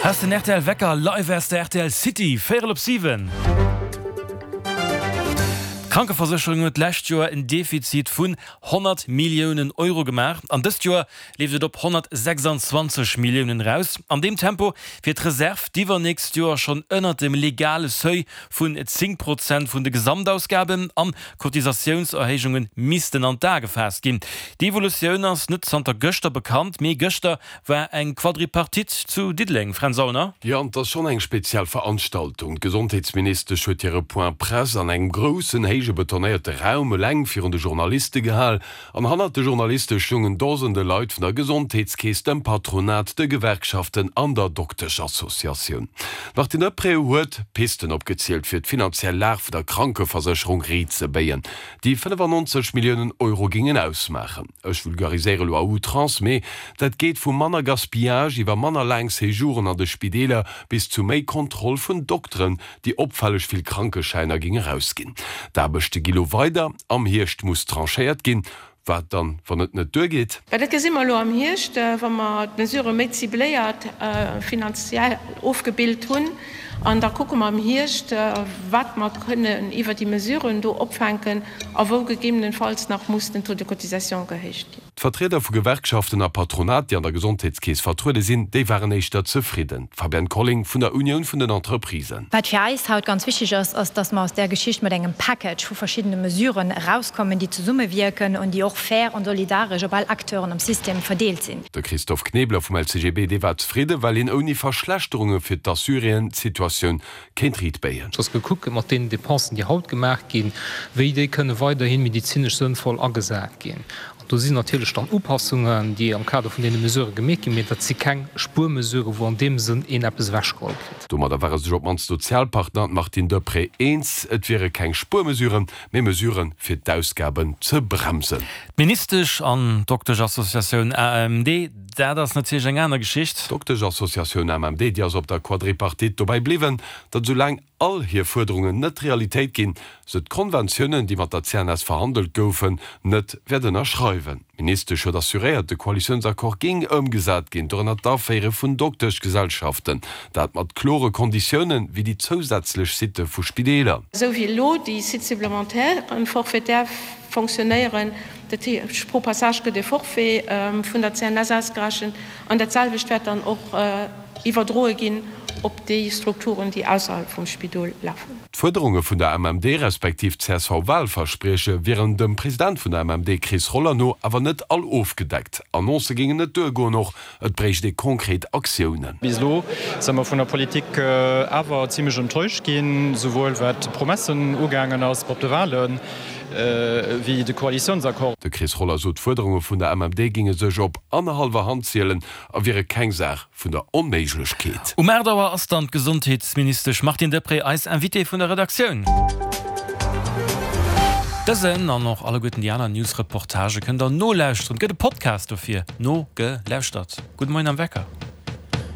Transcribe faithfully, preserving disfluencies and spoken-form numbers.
Hei ass den rtl Wecker live aus der rtl City, véierel op siwen. D'Krankeversécherung huet d'lescht Joer en Defizit vun honnert Milliounen Euro gemaach an dëst Joer leeft et op honnertsechsanzwanzeg Milliounen eraus. An deem Tempo wier d'Reserv d'iwwernächst Joer schonn ënnert dem legale Seuil vun zéng Prozent vun de Gesamtausgaben an Cotisatiounserhéijunge missten an d'A gefaasst ginn. Déi Evolutioun ass net zanter gëschter bekannt, mee gëschter war eng Quadripartite zu Diddeleng, Fränz Aulner. Jo, an et ass schonn eng speziell Veranstaltung. D'Gesondheetsministesch huet hire Point Presse an engem groussen, héije betonéierte Raum eleng virun de Journaliste gehal. An hannert de Journaliste stoungen Dosende Leit vun der Gesondheetskeess, dem Patronat, de Gewerkschaften an der Dokteschassociatioun. D'Martine Deprez huet Pisten opgezielt, fir d'finanziell Lag vun der Krankeversécherung riit ze béien, déi fënnefannonzeg Milliounen Euro géingen ausmaachen. Ech vulgariséiere lo à outrance, mee dat geet vu manner Gaspillage iwwer manner laang Séjouren an de Spideeler bis zu méi Kontroll vun Dokteren, déi opfälleg vill Krankeschäiner géing erausginn. D'Aarbechte gi lo weider, am Hierscht muss tranchéiert ginn. Wat dann, wann et net duergeet? Mä dat gesi mer elo am Hierscht, wa mer d'Mesurë méi cibléiert finanziell ofgebilt hunn. An da kucke mer am Hierscht, wat mer kënnen iwwer déi Mesuren do opfänken a wou gegebenenfalls nach muss den Taux de cotisation gehéicht ginn. D'Vertrieder vu Gewerkschaften a Patronat, déi an der Gesondheetskeess vertruede sinn, déi waren éischter zefridden. D'Fabienne Colling vun der Unioun vun den Entreprisen. Wat fir eis haut ganz wichteg ass, ass, dass mer aus där Geschicht mat engem Package vu verschiddene Mesuren erauskommen, déi zesummewierken an déi och fair an solidaresch op all Acteuren am System verdeelt sinn. De Christophe Knebler vum L C G B, dee war zefridden, well een ouni Verschlechterunge fir d'Assuréen d'Situatioun kéint riitbéien. Dass gekuckt gëtt mat deenen Dépensen, déi haut gemaach ginn, wéi déi kënne weiderhi medezinesch sënnvoll agesat ginn. An do sinn natierlech dann Upassungen, déi am Kader vun deene Mesurë gemeet ginn, mee dat si keng Spuermesurë wou an deem Sënn een eppes ewechgeholl kritt. Domadder ware sech op d'mannst d'Sozialpartner an d'Martine Deprez eens, et wiere keng Spuermesuren, mee Mesuren, fir d'Ausgaben ze bremsen. D'Ministesch an d'Dokteschassociatioun A M D, dat ass natierlech eng aner Geschicht. D'Dokteschassociatioun A M D, déi ass op der Quadripartite dobäi bliwwen, datt esoulaang all hir Fuerderungen net Realitéit ginn, se d'Konventiounen, déi mat der C N S verhandelt goufen, net wäert ënnerschreiwen. D'Ministesch huet assuréiert, de Koalitiounsaccord géing ëmgesat ginn, dorënner d'Aféiere vun Dokteschgesellschaften, dat mat klore Konditiounen, wéi déi zousätzlech Sitte vu Spideeler. Esou wéi elo déi Sites supplémentaires forfaitaires fonctionnéieren, dat heescht pro Passage gëtt e Forfait vun der C N S ausgerechent an dat selwecht wäert dann och iwwerdroe ginn op déi Strukturen, déi ausserhalb vum Spidol lafen. D'Fuerderunge vun der M M D respektiv C S V-Wahlversprieche wieren dem President vun der M M D Chris Roller no awer net all ofgedeckt. Annoncë géingen net duergoen, och et bréicht ee konkret Aktiounen. Bis elo si mer vun der Politik awer zimlech enttäuscht ginn, souwuel wat d'Promessen ugaangen ass op de Wahlen, wéi de Koalitiounsaccord. De Chris Roller sot, d'Fuerderunge vun der M M D géinge sech op annerhallwer Hand zielen a wiere keng Saach vun der Onméiglechkeet. Um aacht Auer ass dann d'Gesondheetsministesch Martine Deprez eis Invitée vun der Redaktioun. Dësen an och alleguerten déi aner News-Reportagë kënnt der nolauschteren. Et gëtt e Podcast dofir, Nogelauschtert. Gudde Moien am Wecker.